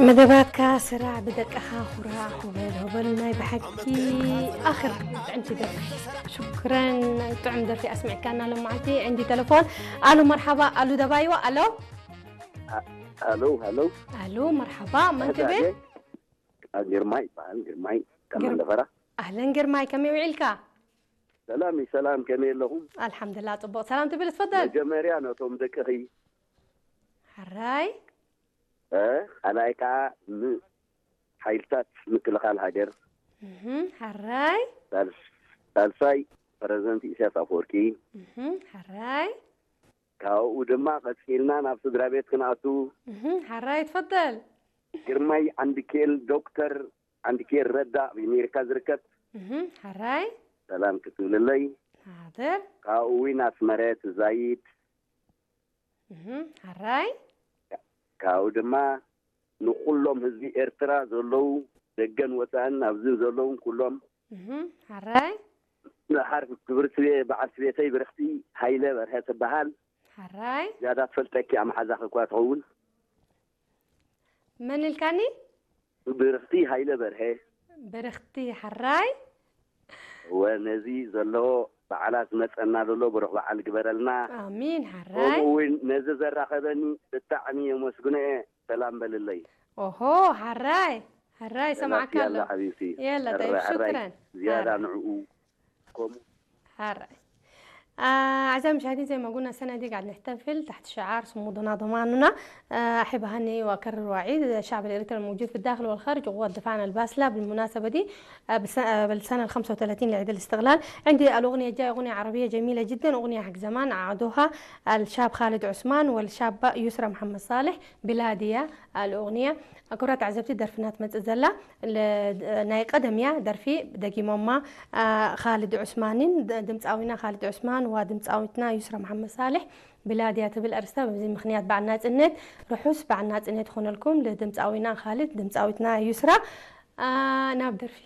መደባትካ ስራዕ ብደቅኻ ኩራዕ፣ ሆበል ሆበል ናይ ብሓቂ ኣኽር ጥዕምቲ ደርፊ። ሽኩረን ጥዑም ደርፊ ኣስሚዕካና ሎማዓንቲ። ዕንዲ ተለፎን። ኣሉ መርሓባ፣ ኣሉ ደባይዋ። ኣሎ። ኣሎ ኣሎ። ኣሉ መርሓባ፣ መን ትብል? ግርማይ ይበሃል። ግርማይ ከመንደፈራ። ኣህለን ግርማይ፣ ከመይ ውዒልካ? ሰላም ሰላም፣ ከመይ ኣለኹም? ኣልሓምዱላ ጽቡቕ። ሰላም ትብል ትፈደል። መጀመርያ ነቶም ደቅኺ ሓራይ። ካልኣይ ከዓ ንሓይልታት ምክልኻል ሃገር፣ ሓራይ። ሳልሳይ ፕረዚደንት ኢሳያስ ኣፈወርቂ። ሓራይ። ካብኡ ድማ ቀፂልና ናብ ስድራ ቤት ክንኣቱ። ሓራይ ትፈደል። ግርማይ ዓንድኬል፣ ዶክተር ዓንድኬል ረዳ ኣብ ኣሜሪካ ዝርከብ። ሓራይ። ሰላም ክትብልለይ። ሓደር። ካብኡ እውን ኣስመረ ትዛይድ። ሓራይ። ካብኡ ድማ ንኩሎም ህዝቢ ኤርትራ ዘለዉ ደገን ወፃእን ኣብዚ ዘለውን ኩሎም። ሓራይ። ንሓር ክብርቲ በዓልቲ ቤተይ ብርኽቲ ሃይለ በርሀ ትበሃል። ሓራይ። ዝያዳ ትፈልጠኪ ኣመሓዛኺ እኳ ትኸውን። መን ኢልካኒ? ብርኽቲ ሃይለ በርሀ። ብርኽቲ ሓራይ። እወ ነዚ ዘሎ በዓላት ዝመፀና ዘሎ ብሩኽ በዓል ግበረልና። ኣሚን ሓራይ። ከምኡ እውን ነዚ ዘራኸበኒ ብጣዕሚ የመስግኖ እየ። ሰላም በልለይ። ኦሆ ሓራይ ሓራይ ሰማዕካ ኣሎ። ሓቢብቲ የላ ጠይብ ሽክረን። ዝያዳ ንዕኡ ከምኡ ሓራይ። أعزائي المشاهدين، زي ما قلنا السنة دي قاعد نحتفل تحت شعار صمودنا ضماننا. أحب أهني وأكرر وأعيد الشعب الإريتري الموجود في الداخل والخارج وقوات دفاعنا الباسلة بالمناسبة دي، بالسنة، بالسنة الخمسة وثلاثين لعيد الاستقلال. عندي الأغنية الجاية أغنية عربية جميلة جدا، أغنية حق زمان عادوها الشاب خالد عثمان والشابة يسرى محمد صالح، بلادية الأغنية። ክቡራት ተዓዘብቲ፣ ደርፍና ትመጽእ ዘላ ናይ ቀደም እያ። ደርፊ ደጊሞማ ካልድ ዑስማንን፣ ድምፃዊና ካልድ ዑስማን ወድምፃዊትና ዩስራ መሓመድ ሳልሕ። ብላድያ ትብል ኣርስታ። በዚ ምኽንያት በዓል ናጽነት፣ ርሑስ በዓል ናጽነት ይኾነልኩም። ድምፃዊና ካልድ፣ ድምፃዊትና ዩስራ። ናብ ደርፊ።